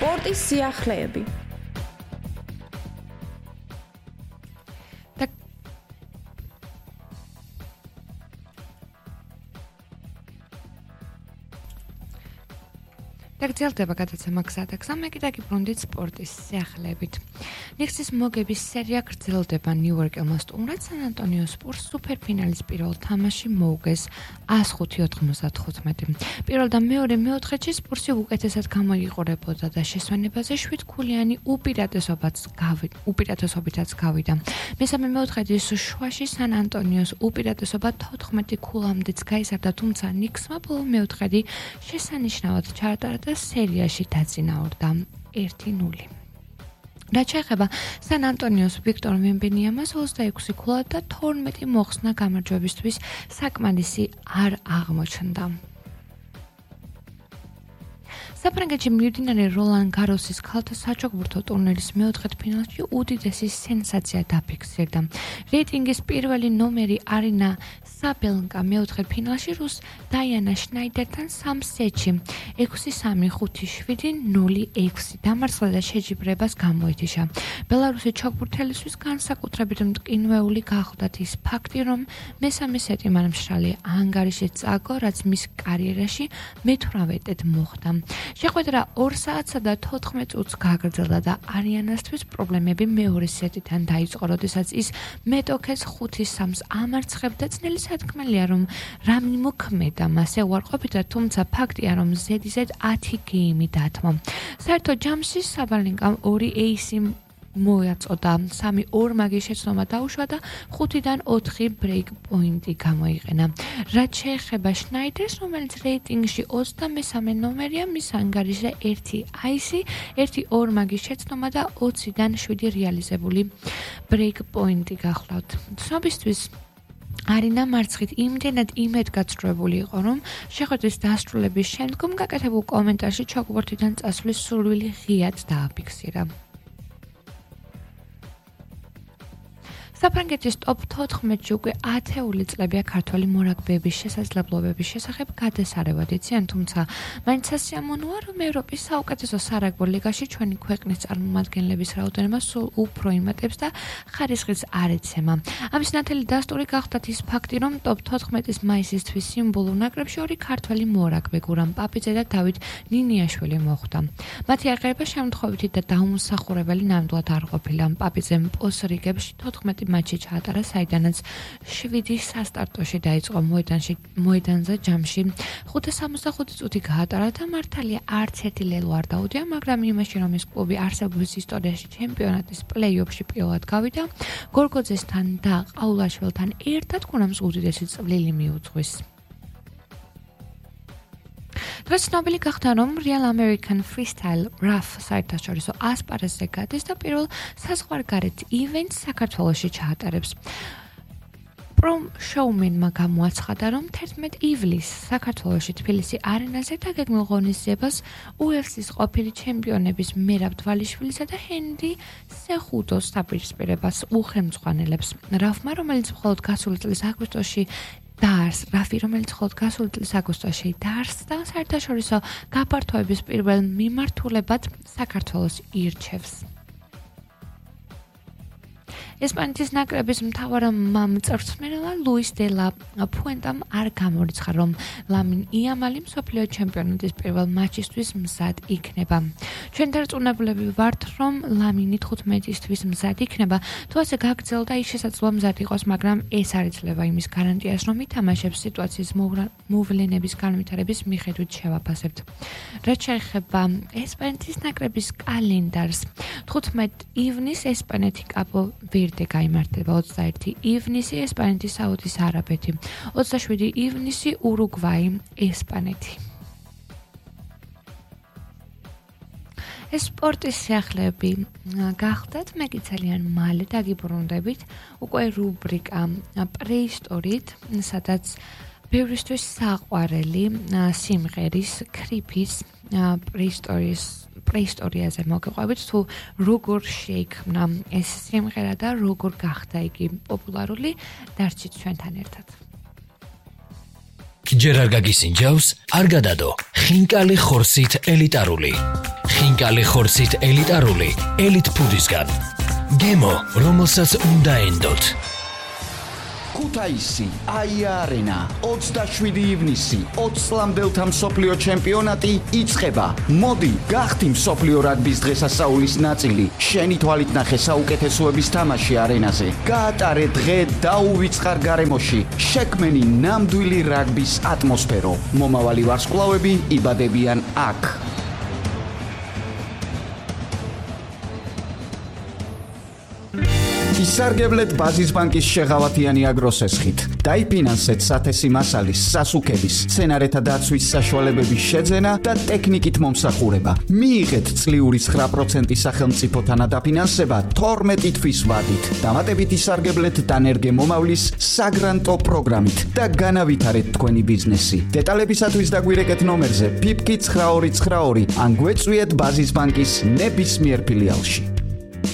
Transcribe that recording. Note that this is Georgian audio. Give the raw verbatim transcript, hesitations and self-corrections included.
სპორტის სიახლეები. დაგრძელდება გადაცემა გზადაგზა, მე კიდე გიბრუნდით სპორტის სიახლეებით. ნიქსის მოგების სერია გრძელდება ნიუ-იორკელმა სტუმრად სან ანტონიო სპურს სუპერფინალის პირველ თამაში მოუგეს ას ხუთი ოთხმოცდათხუთმეტი. პირველ და მეორე მეოთხედში სპურსი უკეთესად გამოიყურებოდა და შესვენებაზე შვიდქულიანი უპირატესობაც უპირატესობითაც გავიდა. მესამე მეოთხედის შუაში სან ანტონიოს უპირატესობა თოთხმეტი ქულამდეც გაიზარდა, თუმცა ნიქსმა ბოლო მეოთხედი შესანიშნავად ჩაატარა და სერიაში დაწინაურდა ერთი ნული. რაც შეეხება სან ანტონიოს ვიქტორ ვემბენიამას ოცდაექვსი ქულა და თორმეტი მოხსნა გამარჯვებისთვის საკმარისი არ აღმოჩნდა. საფრანგეთში მიმდინარე როლან გაროსის ქალთა საჩოგბურთო ტურნირის მეოთხედფინალში უდიდესი სენსაცია დაფიქსირდა. რეიტინგის პირველი ნომერი არინა საბელნკა მეოთხედფინალში რუს დაიანა შნაიდერთან სამ სეტში ექვსი სამი ხუთი შვიდი ნული ექვსი დამარცხდა და შეჯიბრებას გამოეთიშა. ბელარუსი ჩოგბურთელისთვის განსაკუთრებით მტკინვეული გახლდათ ის ფაქტი, რომ მესამე სეტი მან მშრალი ანგარიში წააგო, რაც მის კარიერაში მეთვრამეტედ მოხდა. შეხვედრა ორ საათსა და თოთხმეტ წუთს გაგრძელდა და არიანასთვის პრობლემები მეორე სეტიდან დაიწყო, როდესაც ის მეტოქეს ხუთი სამს ამარცხებდა. ძნელი სათქმელია, რომ რამე მოქმედა მასე უარყოფითად, თუმცა ფაქტია, რომ ზედიზედ ათი გეიმი დათმო. საერთო ჯამში საბალენკამ ორი ეისი მოაწოდა, სამი ორმაგი შეცდომა დაუშვა და ხუთიდან ოთხი ბრეიკ პოინტი გამოიყენა. რაც შეეხება შნაიდერს, რომელიც რეიტინგში ოცდამესამე ნომერია, მის ანგარიშზე ერთი აისი, ერთი ორმაგი შეცდომა და ოციდან შვიდი რეალიზებული ბრეიკ პოინტი გახლავთ. ცნობისთვის არინა მარცხით იმდენად იმედგაცრუებული იყო, რომ შეხვედრის დასრულების შემდგომ გაკეთებულ კომენტარში ჩოგბურთიდან წასვლის სურვილი ღიად დააფიქსირა. საფრანგეთის ტოპ თოთხმეტში უკვე ათეული წლებია ქართველი მორაგბეების შესაძლებლობების შესახებ გადასარევად იციან, თუმცა მაინც სასიამოვნოა, რომ ევროპის საუკეთესო სარაგბო ლიგაში ჩვენი ქვეყნის წარმომადგენლების რაოდენობა სულ უფრო იმატებს და ხარისხის არ ეცემა. ამის ნათელი დასტური გახლდათ ის ფაქტი, რომ ტოპ თოთხმეტის მაისისთვის სიმბოლურ ნაკრებში ორი ქართველი მორაგბე გურამ პაპიძე და დავით ნინიაშვილი მოხვდა. მათი აღება შემთხვევითი და დაუმსახურებელი ნამდვილად არ ყოფილა. პაპიძემ პოს-რიგებში თოთხმეტი მატჩი ჩაატარა, საიდანაც შვიდი სასტარტოში დაიწყო მოედანში მოედანზე ჯამში ხუთი სამოცდახუთი წუთი გაატარა და მართალია არც ერთი ლელო არ დაუდია, მაგრამ იმაში, რომ ეს კლუბი არსებობის ისტორიაში ჩემპიონატის პლეი-ოფში პირველად გავიდა, გორგოძესთან და ყაულაშვილთან ერთად გურამს უდიდესი წვლილი მიუძღვის. დღეს ცნობილი გახდა, რომ Real American Freestyle Rough საერთაშორისო ასპარეზზე გადის და პირველ საზღვარგარეთ ივენტს საქართველოში ჩაატარებს. პრომ შოუმენმა გამოაცხადა, რომ თერთმეტ ივლისს საქართველოში თბილისი არენაზე დაგეგმილ ღონისძიებას იუ ეფ სის ყოფილი ჩემპიონების მერაბ თვალიშვილისა და ჰენრი სეხუდოს დაპირისპირებას უხელმძღვანელებს. რაფმა, რომელიც მხოლოდ გასული წლის აგვისტოში დარს, რაფი, რომელიც მხოლოდ გასული წლის აგვისტოში დაარსდა, საერთაშორისო გაფართოების პირველ მიმართულებად საქართველოს ირჩევს. ესპანეთის ნაკრების მთავარ მწვრთნელა ლუის დე ლა ფუენტამ არ გამორიცხა, რომ ლამინ იამალი მსოფლიო ჩემპიონატის პირველ მატჩისთვის მზად იქნება. ჩვენ დარწმუნებულები ვართ, რომ ლამინი თხუთმეტისთვის მზად იქნება, თუ ასე გაგრძელდა, ის შესაძლოა მზად იყოს, მაგრამ ეს არ იძლევა იმის გარანტიას, რომ ითამაშებს სიტუაციის მოვლენების განვითარების მიხედვით შევაფასებთ. რაც შეეხება ესპანეთის ნაკრების კალენდარს, თხუთმეტი ივნისს ესპანეთი კაპო ვერდე გაიმართება, ოცდაერთი ივნისი ესპანეთი საუდის არაბეთი, ოცდაშვიდი ივნისი ურუგვაი ესპანეთი. ეს სპორტის სიახლეები გახდათ, მე კი ძალიან მალე დაგიბრუნდებით უკვე რუბრიკა პრეისტორით, სადაც ბევრისთვის საყვარელი სიმღერის ქრიფის პრეისტორიის პრეისტორიაზე მოგეყვებით, თუ როგორ შეიქმნა ეს სიმღერა და როგორ გახდა იგი პოპულარული, დარჩით ჩვენთან ერთად. ჯერ არ გაგისინჯავს, არ გადადო. ხინკალი ხორსით ელიტარული. ხინკალი ხორცით ელიტარული ელიტ ფუდისგან. გემო, რომელსაც უნდა ენდოთ. ქუთაისი, აია არენა, ოცდაშვიდი ივნისი, ოცი წლამდელთა მსოფლიო ჩემპიონატი იწყება. მოდი, გახდი მსოფლიო რაგბის დღესასწაულის ნაწილი. შენი თვალით ნახე საუკეთესოების თამაში არენაზე. გაატარე დღე დაუვიწყარ გარემოში. შექმენი ნამდვილი რაგბის ატმოსფერო. მომავალი ვარსკვლავები იბადებიან აქ. ისარგებლეთ ბაზის ბანკის შეღავათიანი აგროსესხით. დაიფინანსეთ სათესი მასალის, სასუქების, სცენარეთა დაცვის საშუალებების შეძენა და ტექნიკით მომსახურება. მიიღეთ წლიური ცხრა პროცენტი სახელმწიფო თანადაფინანსება თორმეტი თვის ვადით. დამატებით ისარგებლეთ დანერგე მომავლის საგრანტო პროგრამით და განავითარეთ თქვენი ბიზნესი. დეტალებისათვის დაგვირეკეთ ნომერზე ფიფკი ცხრა ორი ცხრა ორი ან გვეწვიეთ ბაზის ბანკის ნებისმიერ ფილიალში.